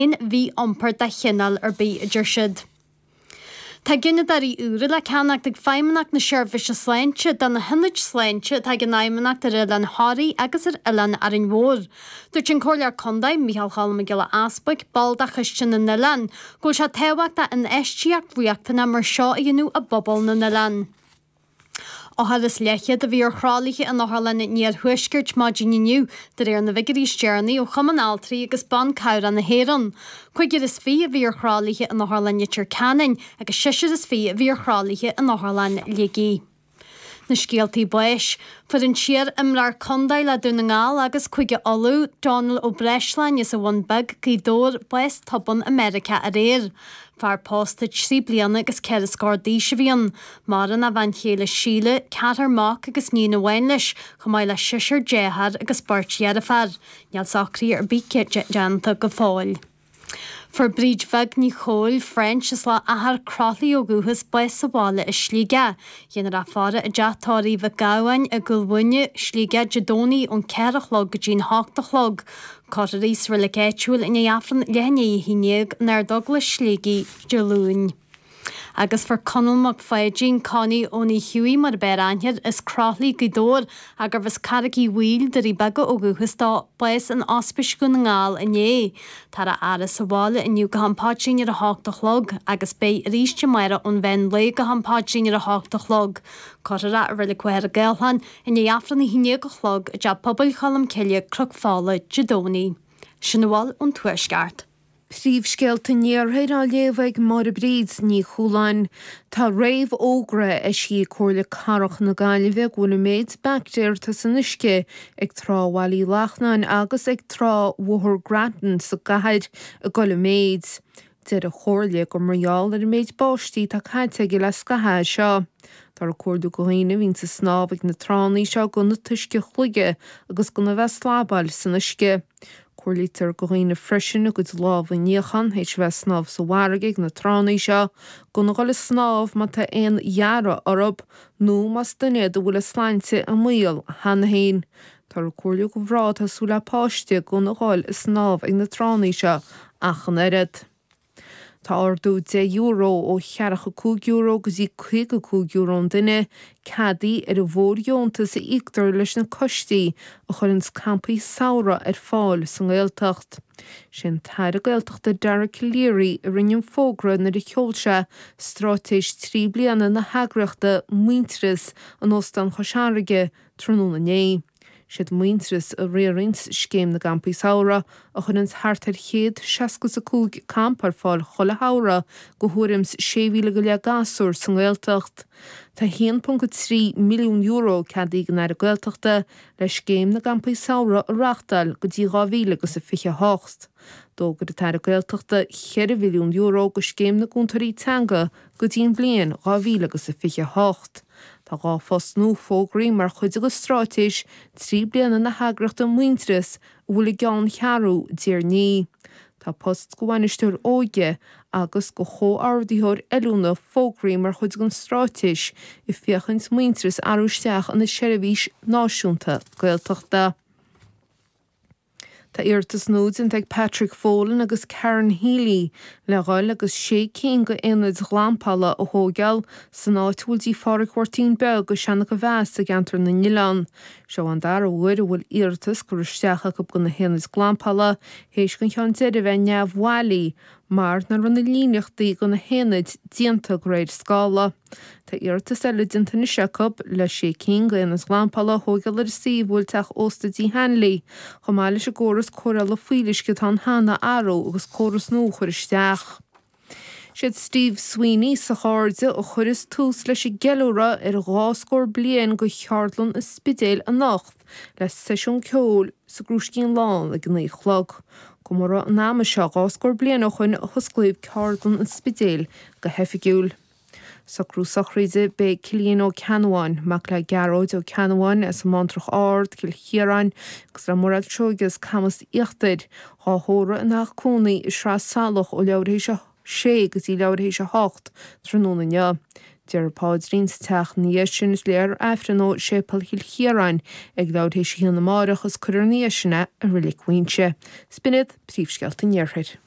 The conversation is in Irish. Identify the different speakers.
Speaker 1: Aon mhí-iompar de chineál ar bith, a deir siad. Tá gineadóirí úra le ceannacht ag Feidhmeannacht na Seirbhíse Sláinte do na hionaid sláinte atá ag an Fheidhmeannacht ar Oileán Thoraí agus ar Oileán Árainn Mhór. Dúirt an Comhairleoir Contae, Micheál Cholm Mac Giolla Easbuig, ball de Choiste na nOileán, go bhfuil sé tábhachtach infheistíocht riachtanach mar seo a dhéanamh i bpobal na n-oileán. Othar is leathchéad a bhí ar thralaithe in Otharlann an Iarthuaiscirt maidin inniu, de réir na bhfigiúirí is deireanaí ó Chumann Altraí agus Ban Cabhrach na hÉireann. 25 a bhí ar thralaithe in Otharlann Leitir Ceanainn agus seisear is 20 a bhí ar thralaithe in Otharlann Shligigh. Na scéaltaí báis. Fuair an t-iar-imreoir contae le Dún na nGall agus Cúige Uladh, Dónal Ó Breisleáin as an Bhun Beag, Gaoth Dobhair, bás tobann i Meiriceá aréir. Fear pósta trí bliana agus ceithre scór d'aois a bhí ann. Maireann a bhean chéile Síle, ceathrar mac agus níon amháin leis, chomh maith le seisear dearthár agus beirt dheirféar. Níl socruithe ar bith déanta go fóill. Fuair Bríd Bheag Ní Chóill, French, as Loch Achair, Croithlí ó dhúchas, bás sa bhaile i Sligeach. Dhéanfar í a faire i dteach tórraimh Mhic Gabhann i gCúil Mhuine, Sligeach, Dé Domhnaigh ón 4 a chlog go dtí'n 8 a chlog. Cuirfear í sa reilig áitiúil i ndiaidh Aifreann leath i ndiaidh 11 in Ard-Eaglais Shligigh Dé Luain. Agus fuair Conall Mac Pháidín, Connie Owenie Hughie mar ab fhearr aithne air, as Croithlí, Gaoth Dobhair, ach gurbh as Carraig Uí Bhaoill, Doirí Beaga ó dhúchas dó, bás in Ospís Dhún na nGall inné. Táthar á fhaire sa bhaile inniu go ham paidrín ar a hocht a chlog agus beidh arís amárach ón mheán lae go ham paidrín ar a hocht a chlog. Cuirfear é i Reilig Mhachaire Gathlán i ndiaidh Aifreann a haon déag a chlog i dTeach Pobail Cholm Cille, Cnoc Fola, Dé Domhnaigh. Sin a bhfuil ón Tuaisceart.
Speaker 2: Príomhscéalta an Iarthair á léamh ag Máire Bríd Ní Chualáin. Tá réamhfhógra eisithe ag Comhairle Cathrach na Gaillimhe go bhfuil an méid baictéar atá san uisce ag Trá Bhaile Uí Lachnáin agus ag Trá Bhóthar Grattan sa gcathair ag dul i méid. Deir an Chomhairle gur mar gheall ar an méid báistí atá caite aige le scaitheamh é seo. Táthar ag comhairliú go dhaoine a bhíonns ag snámh ag na tránna seo gan an t-uisce a shloigeadh agus gan a bheith ag slabáil san uisce. Comhairlítear go dhaoine freisin a gcuid lámha a níochán théis a bheith ag snámh sa bhfarraige ag na tránna seo, gan a dhul ag snámh má tá aon ghearradh orthu nó más duine iad a bhfuil a sláinte i mbaol cheana féin. Táthar ag comhairliú go mhná atá ag súil le páiste gan a dhul ag snámh ag na tránna seo ach an oiread. Tá ardú €10 ó cheathracha €5 go dtí €55 an duine ceadaithe ar an bhfóirdheontas a íoctar leis na coistí a chuireanns campaí samhraidh ar fáil sa nGaeltacht. Sé an tAire Gaeltachta Dara Calleary a rinne an fógra nuair a sheol sé straitéis trí bliana na heagraíochta Muintearas in Óstán Chois Fharraige tráthnóna inné. Siad Muintearas a riaranns Scéim na gCampaí Samhraidh, a chuireanns thart ar chéad seasca is a 5 campa ar fáil chuile shamhradh go thuairim's 6,000 go leith gasúr sa nGaeltacht. Tá €1.3 milliún ceadaithe ag an Aire Gaeltachta le Scéim na gCampaí Samhraidh a reachtáil go dtí 2028. D'fhógair an tAire Gaeltachta €4 mhilliún go Scéim na gCúntóirí Teanga go dtí an bhliain 2028. Tá 2 phost nua fógraithe mar chuid de straitéis 3 bliana na heagraíochta Muintearas a bhfuil a gceanncheathrú i dTír an Fhia. Tá post go bhainisteoir óige agus go chomhordaitheoir oiliúna fógraithe mar chuid den straitéis ag féachaint Muintearas a athrú isteach ina seirbhís náisiúnta Gaeltachta. Tá iarratas nua déanta ag Patrick Folan agus Karen Healy le dhul agus sé cinn de aonaid ghlampála a thóigeáil san áit a bhfuil dtí Phádhraic Mháirtín Beag i Seanach a Mheas i gceantar na nOileán. Seo an dara huair a bhfuil iarratas curtha isteach acu do na haonaid glampála théis don cheann deiridh a bheith neamhbhailí mar nach raibh na líníochtaí do na haonaid déanta de réir scála. Tá iarratas eile déanta anois acu le sé cinn d'aonaid ghlampála a thóigeáil ar an suíomh a bhfuil teach ósta Dí Hanley, chomh maith leis an gcóras cóireála fuíolluisce atá ann cheana a athrú agus córas nua a chur isteach. Siad Steve Sweeney is a chairde a chuireas tús leis an gceiliúradh ar an dhá scór bliain de Cheardlann an Spidéil anocht le seisiún ceoil sa gCrúiscín Lán ag a 9 a chlog. Comóradh an ama seo dhá scór bliain ó shoin a hosclaíodh Ceardlann an Spidéil go hoifigiúil. Socrú sochraide B'é Cillian Ó Ceannabháin, mac le Gearóid Ó Ceannabháin as an mBántrach Ard, Cill Chiaráin, agus le Mairéad Seoige as Camas Íochtair, dhá thórramh ina theach cónaí i Sraith Salach ó leathuair théis a sé go dtí leathuair théis a hocht tráthnóna inniu. Déarfar paidrín sa teach ina dhiaidh sin is léifear Aifreann ó Séipéal Chill Chiaráin ag leathuair théis a haon amáireach is cuirfear ina dhiaidh sin é i Reilig Mhuighinse. 'S b'in iad príomhscéalta an Iarthair.